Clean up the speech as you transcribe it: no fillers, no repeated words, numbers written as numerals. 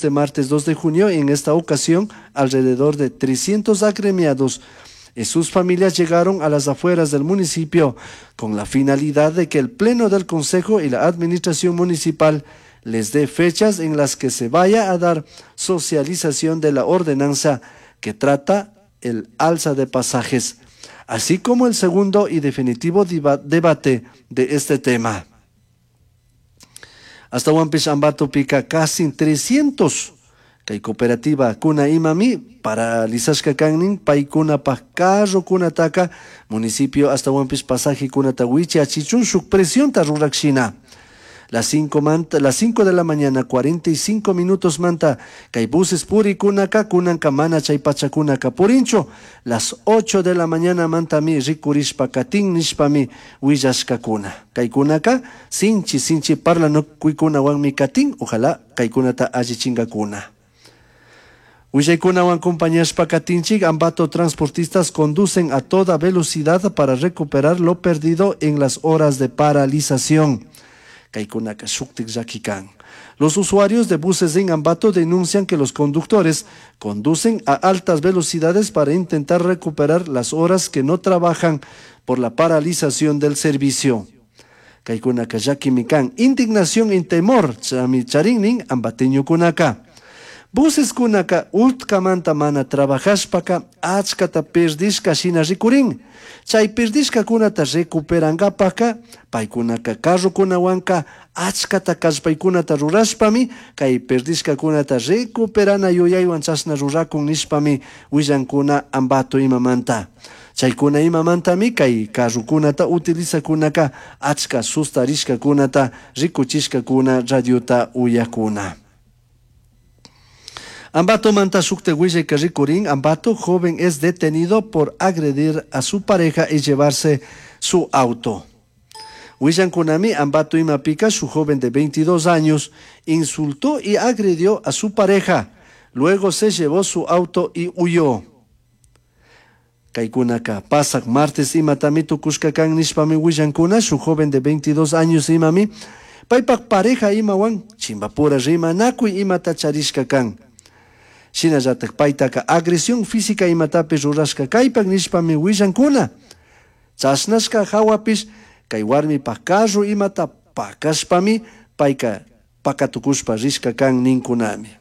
este martes 2 de junio. En esta ocasión, alrededor de 300 agremiados y sus familias llegaron a las afueras del municipio con la finalidad de que el Pleno del Consejo y la Administración Municipal les dé fechas en las que se vaya a dar socialización de la ordenanza que trata el alza de pasajes, así como el segundo y definitivo debate de este tema. Hasta Huampis Ambato pica casi 300 kay cooperativa kuna imami paralizashka kannin paykunapaj carrokunataka municipio ashtawanpish pasajekunata wichachichun shuk presionta rurakshina. Las 5 manta, las 5 de la mañana 45 minutos manta kay buses purikunaka kunanka mana chay pachakunaka purinchu. Las 8 de la mañana mantami rikurishpa katin nishpami willashkakuna. Kaykunaka sinchi sinchi parlanakuykunawanmi katin, ojalá kaykunata allichinkakuna. Willaykunawan acompañashpa katinchik, Ambato transportistas conducen a toda velocidad para recuperar lo perdido en las horas de paralización. Kaykunaka shuktik llaki kan. Los usuarios de buses en Ambato denuncian que los conductores conducen a altas velocidades para intentar recuperar las horas que no trabajan por la paralización del servicio. Kaykunaka llakimi kan. Indignación y temor, chami charinnin ambateñokunaka. Buses kunaka utkamanta mana trabajashpaka achkata perdishka shina rikurin. Chay perdishkakunata recuperankapaka paykunaka carrokunawanka achkata kallpaykunata rurashpami kay perdishkakunata recuperana yuyaywan chashna rurakun nishpami willankuna Ambato imamanta. Chaykuna imamantami kay carrokunata utilizakunaka achka sustarishkakunata rikuchishkakuna radiota uyakuna. Ambato manta shukte willayka rikurin, Ambato joven es detenido por agredir a su pareja y llevarse su auto. Willankunami Ambato imapika, su joven de 22 años, insultó y agredió a su pareja. Luego se llevó su auto y huyó. Kaykunaka pasak martes imatami tukushka kan nishpami willankuna, su joven de 22 años imami, paypak pareja imawan chimbapura rimanakuy imata charishka kan. Shinallatak paytaka agresión física imatapish rurashka kaypak nishpami willankuna. Chashnashka hawapish kay warmipak carro imata pakashpami payka pakatukushpa rishka kan ninkunami.